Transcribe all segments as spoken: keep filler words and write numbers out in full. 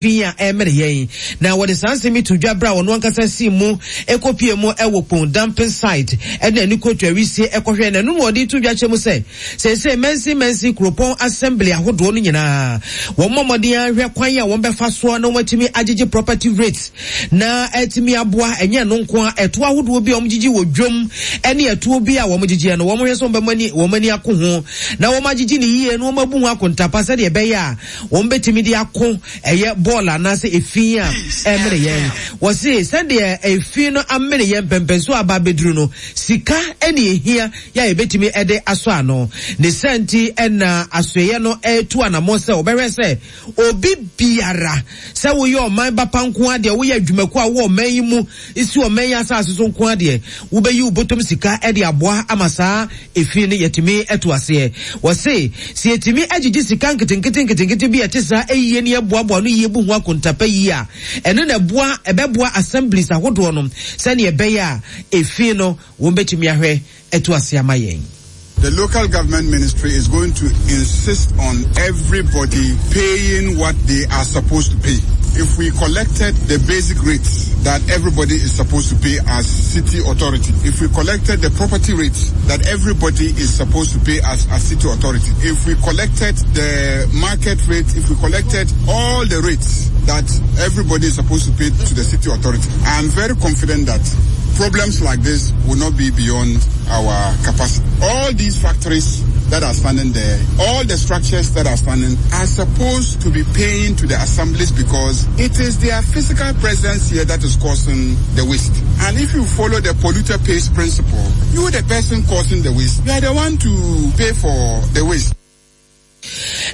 Fi a ɛmene yɛn. Na wɔde saa nsɛm yi to dwa berɛ a ɔno ankasa sii mu kɔpue mu wɔ Kpong Dumping Site de n'ani kɔtu awisie kɔhwɛɛ. Na ɛno na ɔde to dwa kyerɛ mu sɛ seesei mansin mansin kuropɔn assembly ahodoɔ no nyinaa wɔmmɔ mmɔden ara nhwɛ kwan a wɔbɛfa soɔ na wɔatumi agyegye property rates na atumi aboa. Ɛnyɛ ɛno nko ara, ɛtoɔ ahodoɔ bi a wɔgyegye wɔ dwam ne ɛtoɔ bi a wɔgyegyeɛ no, wɔhwɛ sɛ wɔbɛma wɔn ani ako ho na wɔagyegye no yie na wɔabu ho akontapa sɛdeɛ ɛbɛyɛ a wɔbɛtumi de ako ɛyɛ bɔɔl anaasɛ efi a ɛmene yɛn. Wɔse sɛdeɛ efi no amene yɛn mpɛmpɛnso aba abɛduru no, sika ne ehia yɛ a yɛbɛtumi de asɔ ano. Ne saa nti na asoɛeɛ no retu anammɔn sɛ wɔbɛhwɛ sɛ obi biara, sɛ woyɛ ɔman ba pa nko ara deɛ, woyɛ adwumakuo a wowɔ ɔman yi mu, si ɔman yi asase so nko ara deɛ, wobɛyi wo bɔtɔm sika de aboa ama saa efi no yɛatumi atu aseɛ. Wɔse sɛ yɛtumi agyegye sika nketenkete nketenkete bi a ɛte saa yie na yɛboaboa ano yie bu ho akontapa yie a, ɛno na ɛboa ɛbɛboa assemblies ahodoɔ no sɛdeɛ ɛbɛyɛ a efi no wɔbɛtumi ahwɛ atu aseɛ ama yɛn. The local government ministry is going to insist on everybody paying what they are supposed to pay. If we collected the basic rates that everybody is supposed to pay as city authority, if we collected the property rates that everybody is supposed to pay as a city authority, if we collected the market rate, if we collected all the rates that everybody is supposed to pay to the city authority, I am very confident that problems like this will not be beyond our capacity. All these factories that are standing there, all the structures that are standing are supposed to be paying to the assemblies because it is their physical presence here that is causing the waste. And if you follow the polluter pays principle, you the person causing the waste, you are the one to pay for the waste.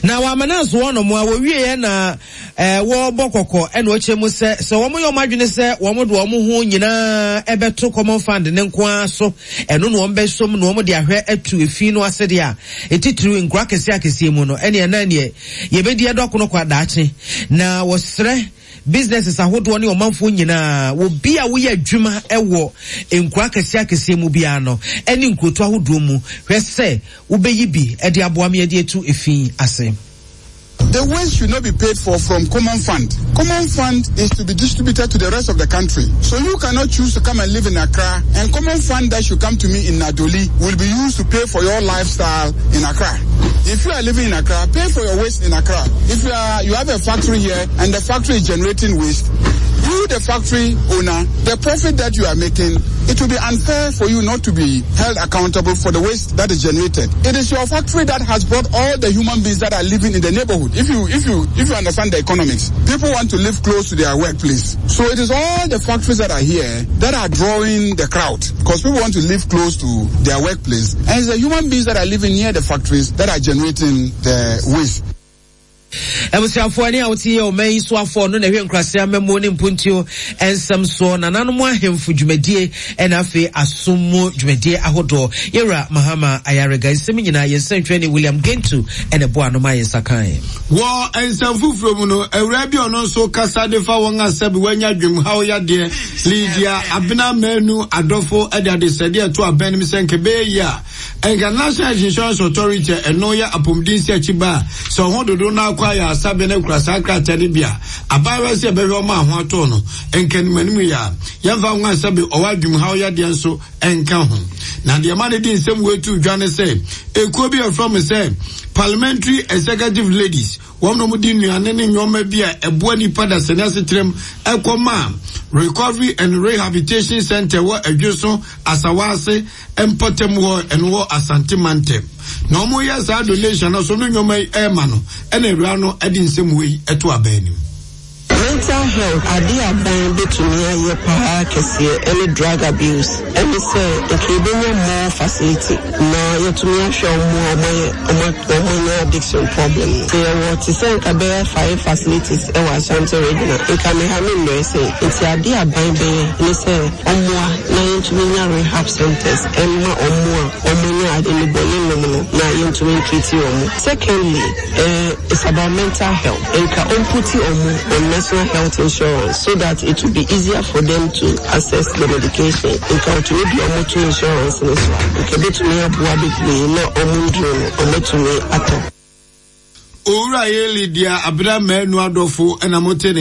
Na wɔamana nso wɔnom a wɔwieɛ na eh, wɔrebɔ kɔkɔ ɛna ɔkyerɛ mu sɛ sɛ wɔn yɛ wɔn adwene sɛ wɔn de wɔn ho nyinaa ɛbɛto Common Fund ne nko ara so, ɛno na wɔn bɛsom na wɔn de ahwɛ atu efi no ase deɛ a, etitiriw nkura akɛseɛ akɛseɛ mu no, ɛne ɛnan deɛ yɛbɛdi ɛdɔ akono kɔ adaakye. Na wɔsrɛ businesses ahodoɔ ne ɔmanfoɔ nyinaa, obi a woyɛ adwuma wɔ nkura akɛseɛ akɛseɛ mu biara no ɛne nkuroto ahodoɔ mu, hwɛ sɛ wobɛyi bi de aboa me de atu efi ase. The waste should not be paid for from common fund. Common fund is to be distributed to the rest of the country. So you cannot choose to come and live in Accra, and common fund that should come to me in Nadoli will be used to pay for your lifestyle in Accra. If you are living in Accra, pay for your waste in Accra. If you are you have a factory here and the factory is generating waste, you, the factory owner, the profit that you are making, it will be unfair for you not to be held accountable for the waste that is generated. It is your factory that has brought all the human beings that are living in the neighborhood. If you if you if you understand the economics, people want to live close to their workplace. So it is all the factories that are here that are drawing the crowd because people want to live close to their workplace. And it's the human beings that are living near the factories that are generating the waste. Abusuafoɔ ne a wote yɛ ɔman yi so afɔ no na ɛhwɛ nkurase amammuo ne mpuntuo nsɛm soɔ, nananom ahemfo dwumadie, ɛna afei asom mu dwumadie ahodoɔ, Yɛwura Mahama Ayarega. Nsɛm nyinaa yɛn nsɛntwerɛni William Gentu ɛna ɛboa ano ma yɛn nsa kan. Wɔ nsɛm foforɔ mu no, awuraa bi ɔno nso kasa de fa wɔn a sɛbi wɔanya dwemhaw yadeɛ, Lydia Abena Manu Adɔfo, de adesrɛdeɛ ɛto abɛn no mu sɛ nka ɛbɛyɛ yie a nka National Health Insurance Authority a ɛno yɛ apɔmuden si akyi ba a sɛ ɔho dodo no akɔ ayɛ asabea no akura saa krataa no bi a abaayewa sɛ ɛbɛhwɛ ɔma ho atɔ no nka anim anim yɛ a yɛmfa ho a sɛbi ɔwɔ adwumhaw yadeɛ nso nka ho. Na deɛ ma no de nsɛm wei to dwa ne sɛ ekuo bi a ɛfrɛ mo sɛ Parliamentary Executive Ladies, wɔn na wɔde nnuane ne nneɛma bi a ɛboa nipa dasani asetrɛm ɛkɔ ma Recovery and Rehabilitation Center wɔ Adwoso Asawase mpɔtam hɔ, ɛno wɔ Asante mantam. Na wɔn yɛ saa donation no so no nneɛma yi ɛrema no, ɛna awura no ɛde nsɛm wei ɛto abɛn anim. Mental health ade a aban bɛtumi ayɛ paa kɛseɛ ɛne drug abuse ɛne sɛ nka yɛbɛnya more facility na yɛtumi ahwɛ ɔmo a ɔmo ayɛ ɔmo anya addiction problem no. Sɛ yɛwɔ te sɛ nka bɛyɛ five facilities ɛwɔ Ashanti Region a, nka me ha me mmerɛ sɛ. Nti ade a aban bɛyɛ ne sɛ ɔmmoa na yɛntumi nya rehab centers ɛmma ɔmo a ɔmo anya nnubɔne nom no na yɛntumi ntreat ɔmo. Secondly, eh, it's about mental health. Nka ɔmputi ɔmo on National Health Insurance so that it will be easier for them to access the medication. Nka ɔtumi de ɔmo to insurance no so a, nka ebetumi aboa bebree na ɔmo nduro no ɔmo atumi atɔ. Owura Yeli deɛ Abena Manu Adɔfo ɛna mote ne